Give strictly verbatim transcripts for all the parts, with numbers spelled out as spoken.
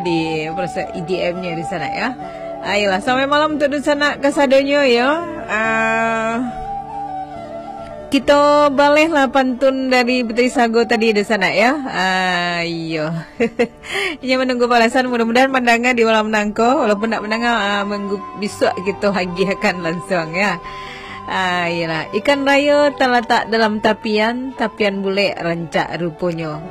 di proses E D M-nya di sana ya. Ayolah, selamat malam untuk di sana kasadonyo ya. Ah, kita baleh lah pantun dari Putri Sago tadi di sana ya. Ah, iyo. Inyo menunggu balasan, mudah-mudahan mandanga di malam nangko, walaupun nak mandanga, ah, minggu bisuak kita agiahkan langsung ya. Ah, iyalah, ikan rayo talatak dalam tapian, tapian bulek rancak ruponyo.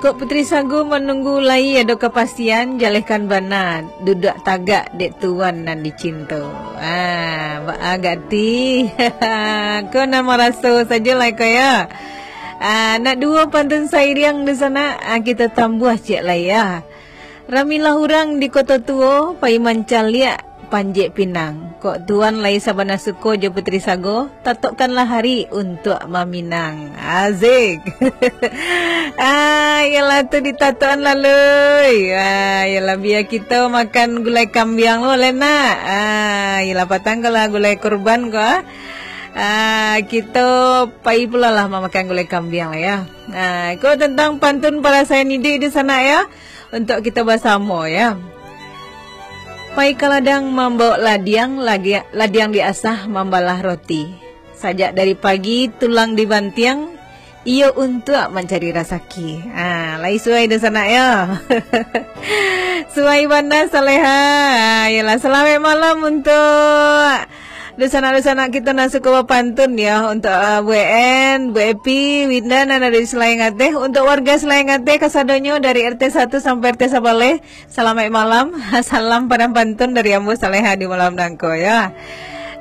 Kok Putri Sago manunggu lai ado kapastian, jalehkan bana, duduak tagak dek tuan nan dicinto. Ah, baa gati. Ko nan maraso sajolah ko ya. Ah, nak duo pantun sairiang di sana, ah, kita tambuah ciek lai ya. Ramilah urang di koto tuo, pai mancaliak panjek pinang. Kok tuan lai sabana suko jo Putri Sago, tatokkanlah hari untuak maminang. Azik. Ah, iyalah tu ditatokan lalu. Ah, iyalah bia kito makan gulai kambiang lo, Lena. Ah, iyalah patang kalau gulai kurban ko. Ah, kito pai pulo lah mamakan gulai kambiang lah ya. Ah, ko tentang pantun parasaian iduik di sana ya. Untuk kita basamo ya. Pai ka ladang mambawok ladiang, lagi-, ladiang diasah mambalah roti. Sajak dari pagi tulang dibantiang, iyo untuak mancari rasaki. Ah, lai suai di sana ya. Suai bana Saleha. Ah, iyalah, salamaik malam untuk dunsanak-dunsanak kito nan suko bapantun, yo, untuk, ah, Bu En, Bu Epi, Winda, nan ado di Selayang Ateh, untuk warga Selayang Ateh kasadonyo dari R T satu sampai R T sabaleh, salamaik malam, salam padang pantun dari ambo Saleha di malam nangko, yo.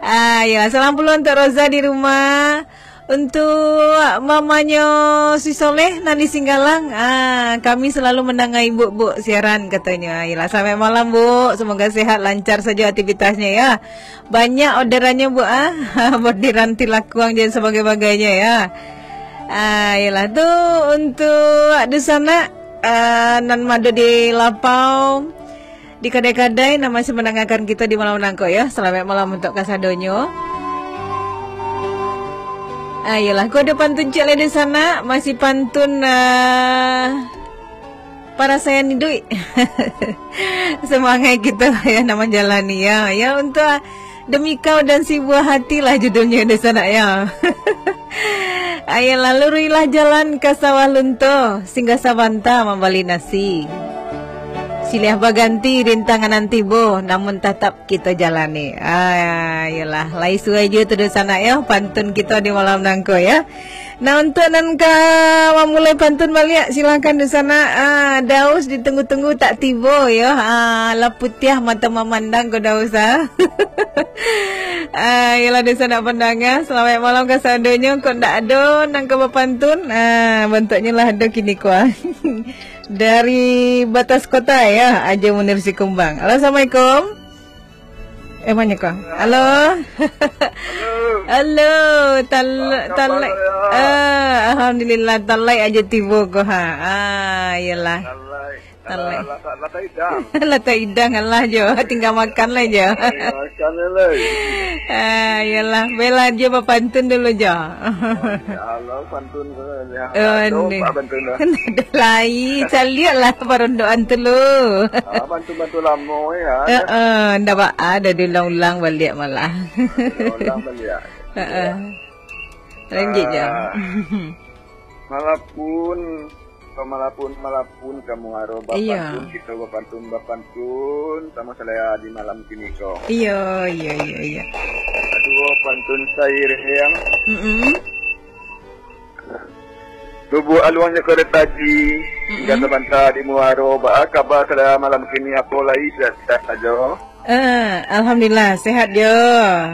Ah, yo, salam pulo untuk Roza di rumah, untuk mamanyo si Soleh nan di Singgalang, ah, kami selalu mandanga Ibuk, Buk, siaran, katonyo. Ayolah, salamaik malam, Buk. Semoga sehat, lancar sajo aktivitasnyo, yo. Banyak orderannyo, Buk, ah. Orderan tilakuang dan sebagainya, yo. Ah, iyolah, tu untuk dunsanak, ah, nan mado di lapau, di kadai-kadai nan masih mandangakan kito di malam nangko, yo. Salamaik malam untuk kasadonyo. Ah, iyolah, ko ado pantun ciek lai di sana, masih pantun, ah, parasaian iduik. Semangat kito, yo, nak manjalani, yo. Yo, untuk Demi Kau dan Si Buah Hati lah judulnyo di sana, yo. Ayolah, luruihlah jalan ka Sawah Lunto, singgah sabanta mambali nasi. Silih baganti rintangan nan tibo, namun tatap kito jalani. Ah, iyolah, lai suai juo tu dunsanak, yo, pantun kito di malam nangko, yo. Nah, untuk nan ka mamulai pantun baliak, silakan dunsanak. Ah, Daus ditunggu-tunggu tak tibo, yo. Ah, lah putiah mato mamandang ko Daus, ah. Ah, iyolah dunsanak pandanga, salamaik malam kasadonyo. Kok ndak ado nan ka bapantun? Ah, bantuaknyo lah ado kini ko, ah. Dari Batas Kota, yo, Ajo Munir Sikumbang. Halo, assalamualaikum. Eh, manyo ko? Halo. Halo. Halo, tal-, Apa talai. Khabar, ya? Ah, alhamdulillah, talai ajo tibo ko, ha. Ah, iyolah. Talai. Talai. Alah, alah, alah, tak idang. Lah tak idang, alah jo. Tinggal makan lah jo. Tinggal makan lah. Ah, iyolah. Bela jo bapantun dulu jo. Ya Allah, pantun tu, ya. Oh, ado ni. Pak pantun dah. Ado lai, caliak lah parondokan tu lu. Ah, pantun-pantun lamo, ya. Heeh, ndak ba-, ah, dah diulang-ulang baliak malah. Diulang baliak. Heeh. Lanjut je. Ah, malapun, malapun, malapun ka muaro. Iya. Bapantun, kito bapantun, bapantun, samo Saleha di malam kini ko. Iya, iya, iya, iya. Aduh, pantun sairiang. Mm-mm. Tubuh aluangnyo korek taji, Mm-mm. Gata banta di muaro, baa kaba Saleha malam kini, apo lai sehat-sehat sajo? Eh, alhamdulillah, sehat jo.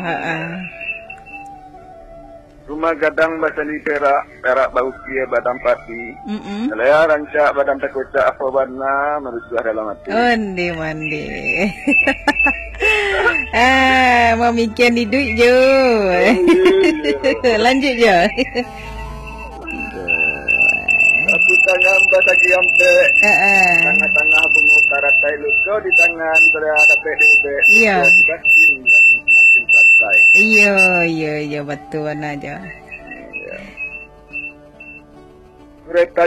Ha, ha. Rumah gadang basandi perak, perak baukia badang pati. Mm-mm. Saleha rancak badang takocak, apo bana marusuah dalam ati. Onde mande. Ah, mamikian iduik jo. Onde, iyo. Lanjut jo. Sapu tangan basagi ampek. Heeh. Tangah-tangah bungo karatai, luko di tangan, sudah dapek diubek. Iya. Sudah dibasin dan makin santai. Iya, iya, iya, betul bana jo. Iya. Kereta